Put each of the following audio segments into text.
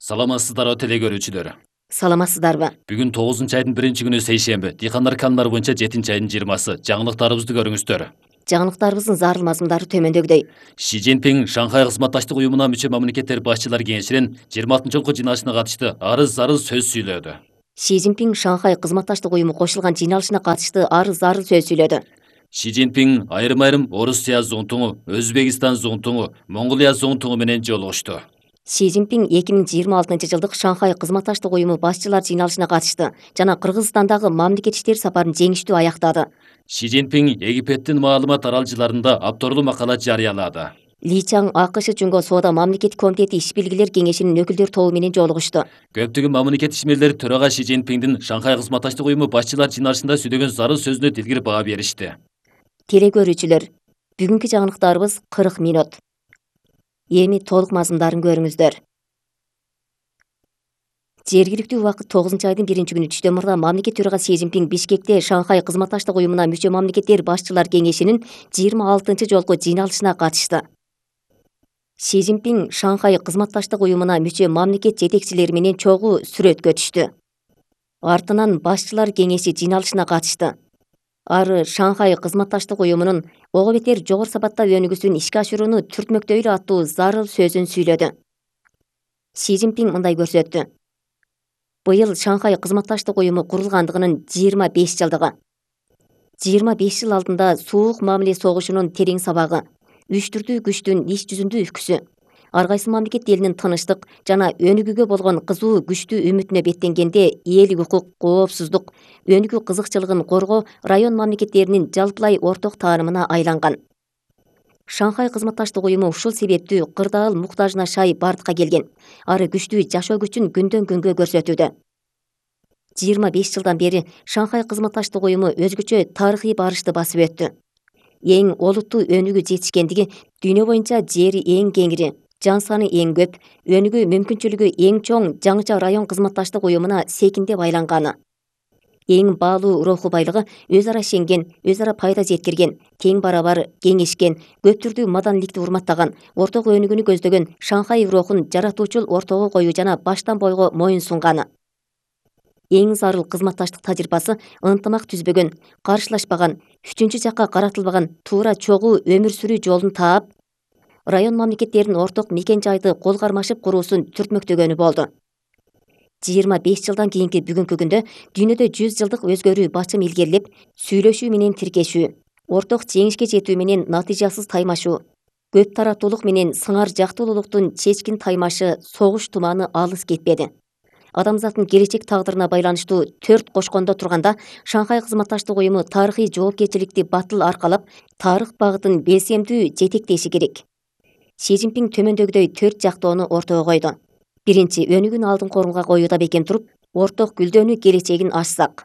Саламатсыздарбы теле көрүүчүлөр. Саламатсыздарбы? Бүгүн 9-айдын 1-күнү сейшемби. Дыйкандар каналары боюнча 7-айдын 20-сы. Жаңылыктарыбызды көрүңүздөр. Жаңылыктарыбыздын зарыл мазмундары төмөндөгүдөй. Ши Цзиньпин Шанхай кызматташтык уюмуна мүчө мамлекеттер башчылар кеңешинин 26-жолку жыйналышына катышты. Арыз сөз сүйлөдү. Ши Цзиньпин Шанхай кызматташтык уюму кошулган жыйналышына катышты. Арыз сөз сүйлөдү. Ши Цзиньпин айрым Орусия зуңтуңу, Өзбекистан зуңтуңу, Монголия зуңтуңу менен жолугушту. Ши Цзиньпин 2026-жылдык Шанхай кызматташтык уюму башчылар жыйналышына катышты жана Кыргызстандагы мамлекет иштери сапарын жеңиштүү аяктады. Ши Цзиньпин Египеттин маалымат аралжыларында авторлуу макала жарыялады. Ли Чаң АКШ Жөнгө соода мамлекеттик комитети иш-билгилер кеңешинин өкүлдөр тобу менен жолугушту. Көптөгөн мамлекет ишмерлери төрага Ши Цзиньпиндин Шанхай кызматташтык уюму башчылар жыйналышында сүйлөгөн зарыл сөзүнө дилгир баа беришти. Теле көрүүчүлөр, бүгүнкү жаңылыктарыбыз 40 минут. Эми толук мазмундарын көрүңүздөр. Жергиликтүү убакыт 9-айдын 1-күнү түштөн мурда мамлекет төрагасы Си Цзиньпин Бишкекте Шанхай кызматташтык уюмуна мүчө мамлекеттер башчылар кеңешинин 26-жолку жыйналышына катышты. Си Цзиньпин Шанхай кызматташтык уюмуна мүчө мамлекет жетекчилери менен чогуу сүрөткө түштү. Артынан башчылар кеңеши жыйналышына катышты. Ары Шанхай кызматташтык уюмунун ого бетер жогору сапатта өнүгүүсүн ишке ашырууну түртмөктөйлү аттуу зарыл сөзүн сүйлөдү. Си Цзиньпин мындай көрсөттү. Быйыл Шанхай кызматташтык уюму курулгандыгынын 25 жылдыгы. 25 жыл алдында суук мамиле согушунун терең сабагы, үчтүрдүү күчтүн иш жүзүндө үкүсү, ар кайсы мамлекет элинин тынычтык жана өнүгүүгө болгон кызуу күчтүү үмүтүнө беттенгенде эл укук, коопсуздук, өнүгүү кызыкчылыгын коргоо район мамлекеттеринин жалпылай орток таанымына айланган. Шанхай кызматташтык уюму ушул себептүү кырдаал муктажына шай бардыкка келген. Ары күчтүү жашоо күчүн күндөн күнгө көрсөтүүдө. 25 жылдан бери Шанхай кызматташтык уюму өзгөчө тарыхый барышты басып өттү. Эң олуттуу өнүгүү жетишкендиги дүйнө боюнча жери эң кеңири, жан саны эң көп, өнүгүү мүмкүнчүлүгү эң чоң жаңыча район кызматташтык уюмуна секиндеп айланганы. Эң баалуу руху байлыгы өз ара ишенген, өз ара пайда жеткирген, тең барабар кеңешкен, көп түрдүү маданиликти урматтаган, орток өнүгүүнү көздөгөн Шанхай рухун жаратуучул ортого коюу жана баштан бойго моюн сунганы. Эң зарыл кызматташтык тажрыйбасы ынтымак түзбөгөн, каршылашпаган, үчүнчү жакка каратылбаган туура чогуу өмүр сүрүү жолун таап, район мамлекеттеринин орток мекен жайды кол кармашып куруусун түртмөктөгөнү болду. 25 жылдан кийинки бүгүнкү күндө дүйнөдө 100 жылдык өзгөрүү бачым илгерилеп, сүйлөшүү менен тиркешүү, орток жеңишке жетүү менен натыйжасыз таймашуу, көп тараптуулук менен сыңар жактуулуктун чечкин таймашы согуш туманы алыс кетпеди. Адамзаттын келечек тагдырына байланыштуу 4 кошкондо турганда Шанхай кызматташтык уюму тарыхый жоопкерчиликти батыл аркалап, тарых багытын белсемдүү жетектеши керек. Си Цзиньпин төмөндөгүдөй 4 жактоону ортого койду. Биринчи, өнүгүүнү алдыңкы орунга коюуда бекем туруп, орток гүлдөнүү келечегин ачсак.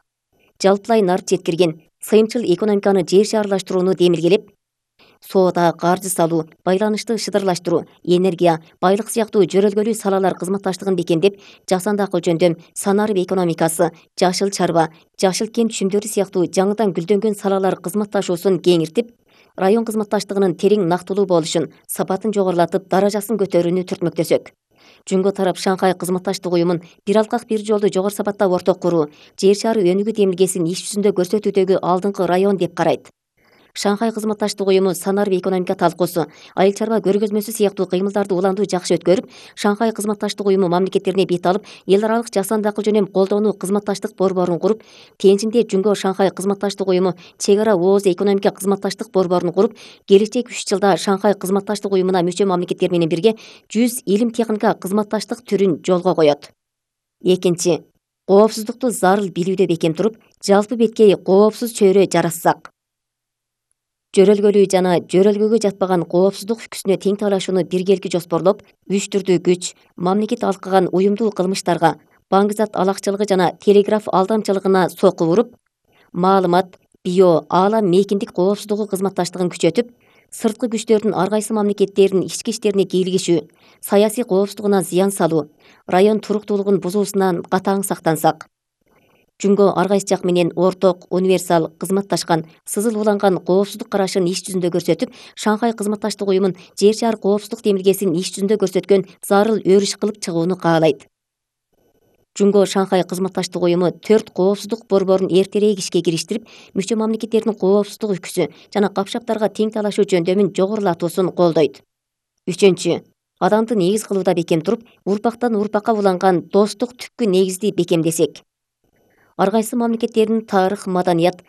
Жалпылай нарып жеткирген, сыйымчыл экономиканы жер шаарлаштырууну демилгелеп, соода, каржы салуу, байланышты шыдырлаштыруу, энергия, байлык сыяктуу жөрөлгөлүү салалар кызматташтыгын бекемдеп, жасандакы жөндөм, санарып экономикасы, жашыл чарба, жашыл кен түшүмдөрү сыяктуу жаңыдан гүлдөнгөн салалар кызматташуусун кеңиртип, район кызматташтыгынын терең нактылуу болушун, сапатын жогорулатып, даражасын көтөрүүнү түртмөктөсөк. Жөнгө тарап Шанхай кызматташтык уюмун бир алкак бир жолду жогору сапатта орток куруу, жер шары өнүгүү демилгесин иш жүзүндө көрсөтүүдөгү алдыңкы район деп карайт. Шанхай кызматташтык уюму санарып экономика талкуусу, айыл чарба көргөзмөсү сыяктуу кыймылдарды уландуу жакшы өткөрүп, Шанхай кызматташтык уюму мамлекеттерине бет алып, эл аралык жасандакы жөнөм колдоону кызматташтык борборун куруп, Тенжинде Жүнгө Шанхай кызматташтык уюму чек ара ооз экономика кызматташтык борборун куруп, келечек 3 жылда Шанхай кызматташтык уюмуна мүчө мамлекеттер менен бирге 100 илим техника кызматташтык түрүн жолго коет. Экинчи, коопсуздукту зарыл билүүдө бекем туруп, жалпы беткей коопсуз чөйрө жаратсак. Жөрөлгөлүү жана жөрөлгөгө жатпаган коопсуздук үкүсүнө тең талашууну биргелки жоспорлоп, үчтүрдүү күч, мамлекет алкаган уюмдуу кылмыштарга, баңгизат алакчылыгы жана телеграф алдамчылыгына сокку уруп, маалымат, био, аалам мейкиндик коопсуздугу кызматташтыгын күчөтүп, сырткы күчтөрдүн ар кайсы мамлекеттердин ички иштерине кийлигишүү, саясий коопсуздугуна зыян салуу, район туруктуулугун бузуусунан катаң сактансак. Жүнгө ар кайсы жак менен орток, универсал, кызматташкан, сызыл уланган коопсуздук карашын иш жүзүндө көрсөтүп, Шанхай кызматташтык уюмун жер шаар коопсуздук демилгесин иш жүзүндө көрсөткөн зарыл өрүш кылып чыгууну каалайт. Жунго Шанхай кызматташтык уюму 4 коопсуздук борборун эртерээк ишке кириштирип, мүчө мамлекеттердин коопсуздук үкүсү жана капшаптарга тең талашуу жөндөмүн жогорулатуусун колдойт. 3. Адамды негиз кылууда бекем туруп, урпактан урпакка уланган достук түпкү негизди бекемдесек. Ар кайсы мамлекеттердин тарых, маданият,